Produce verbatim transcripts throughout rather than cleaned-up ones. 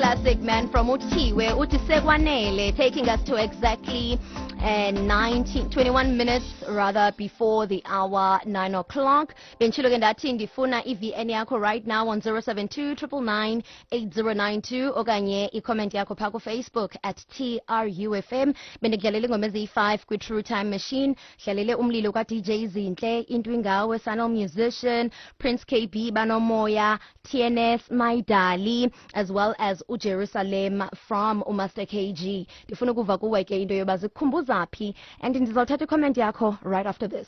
classic, man, from Uthiwe uthi Sekwanele, taking us to exactly uh, nineteen, twenty-one minutes rather before the hour nine o'clock. Benditshilo ke ndathi ndifuna i-V N yakho right now on zero seven two nine nine nine eight zero nine two okanye i-comment yakho phaa kuFacebook at T R U F M. Bendikudlalela ingoma eziyi-five kwi-True Time Machine. Dlalele Umlilo ka-D J Zinhle, Into Ingawe, Sanal Musician, Prince K B, Banomoya, T N S, My Dali, as well as uJerusalem from uMaster K G. Ndifuna ukuva kuwe ke into yoba zikukhumbuza phi, and ndizawuthatha i-comment yakho right after this.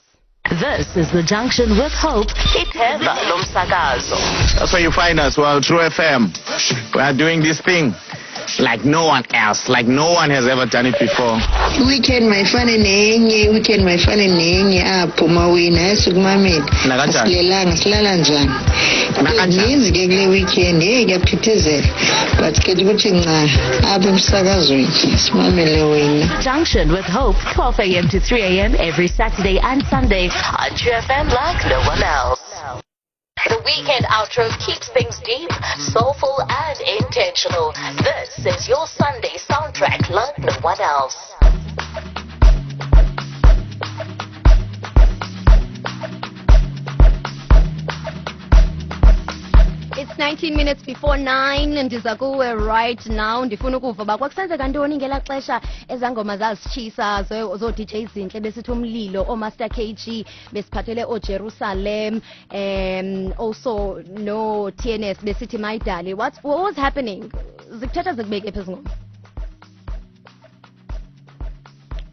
This is the Junction with Hope, ithemba lomsakazo. That's where you find us. Well, True F M. We are doing this thing like no one else, like no one has ever done it before. Weekend mayifane nenye, weekend mayifane nenye apho mawina esikumamele. Nakanjani? Asilelanga, silala njani? Nakanjani? Zininzi ke kule weekend, heyi, kuyaphithizela, but ke kuthi nca apha emsakazweni simamele wena. Junction with Hope, twelve a m to three a m every Saturday and Sunday on True F M like no one else. The weekend outro keeps things deep, soulful, and intentional. This is your Sunday soundtrack like no one else. It's nineteen minutes before nine. Ndiza kuwe right now. Ndifuna ukuva uba kwakusenzeka ntoni ngelaa xesha ezaa ngoma zazitshisa zoo-D J Zinhle besithi Umlilo, ooMaster K G besiphathele ooJerusalem, um also no-T N S besithi Mayidali. What's, what was happening? Zikuthatha zikubeke phi ezi ngoma?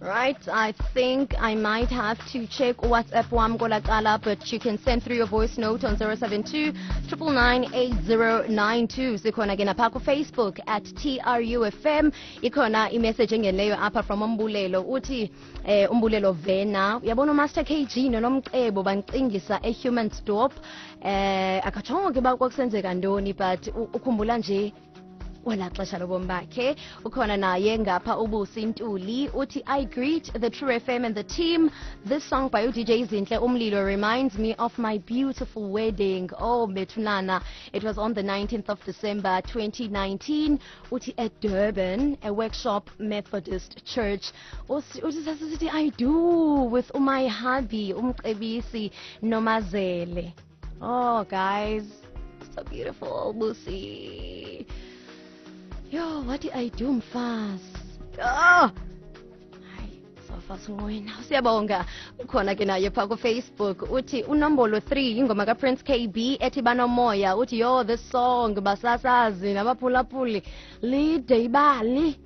Right, I think I might have to check WhatsApp wam kwelaa, but you can send through your voice note on zero seven two nine nine nine eight zero nine two. Sikhona ke napha ku-Facebook at T R U F M. Ikhona i-message engenileyo apha from Umbulelo. Uthi eh, Umbulelo Vena, uyabona uMaster K G noNomcebo bancingisa eHumansdorp. Eh akatshongo ke uba kwakusenzeka ntoni, but u- ukhumbula nje kwelaa xesha lobomi bakhe. Ukhona naye ngapha uBusi Ntuli, uthi, "I greet the True F M and the team. This song by uD J Zinhle, Umlilo, reminds me of my beautiful wedding. Oh bethunana, it was on the nineteenth of December twenty nineteen," uthi, "at Durban, a Workshop Methodist Church." Uthi uthi sasisithi "I do" with my hubby uMcebisi Nomazele. Oh guys, so beautiful, Busi. Yo, what did I do, mfazi? Oh! Hayi, sofa sinqwena. Siyabonga. Ukhona ke naye pha ku-Facebook. Uthi unombolo three, ingoma kaPrince K B ethi Banomoya. Uthi, "Yo, this song, basasazi nabaphulaphuli, lide ibali.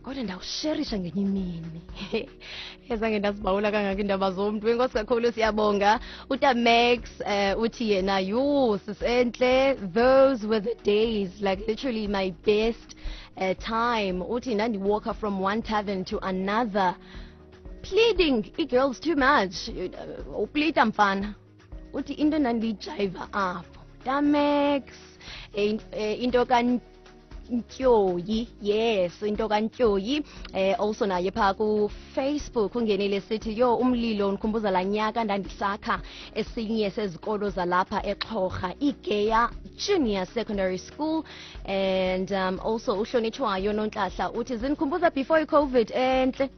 Kodwa ndawusherisha ngenye imini." Ezange ndazibawula kangaka iindaba zomntu. Enkosi kakhulu, siyabonga. UTamex uh, uthi yena, "Yho, sisentle, those were the days, like literally my best uh, time." Uthi, "Ndandiwalka from one tavern to another pleading i-girls too much." Uplita mfana. Uthi into endandiyijayiva apho, Tamex, eh, eh, into kaNtyoyi, yes, into kaNtyoyi. eh also naye phaa kuFacebook ungenile sithi, "Yo, Umlilo undikhumbuza laa nyaka ndandisakha esinye sezikolo zalapha eXhorha, iGeya Junior Secondary School." And um, also uhlonitshwayo Nontlahla uthi, "Zindikhumbuza before iCOVID entle,"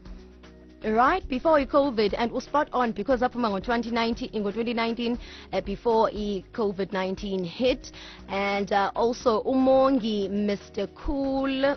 right before i-COVID, and spot on because aphuma ngo-twenty nineteen, ngo-twenty nineteen, uh, before i-COVID nineteen hit. And uh, also uMongi Mister Cool.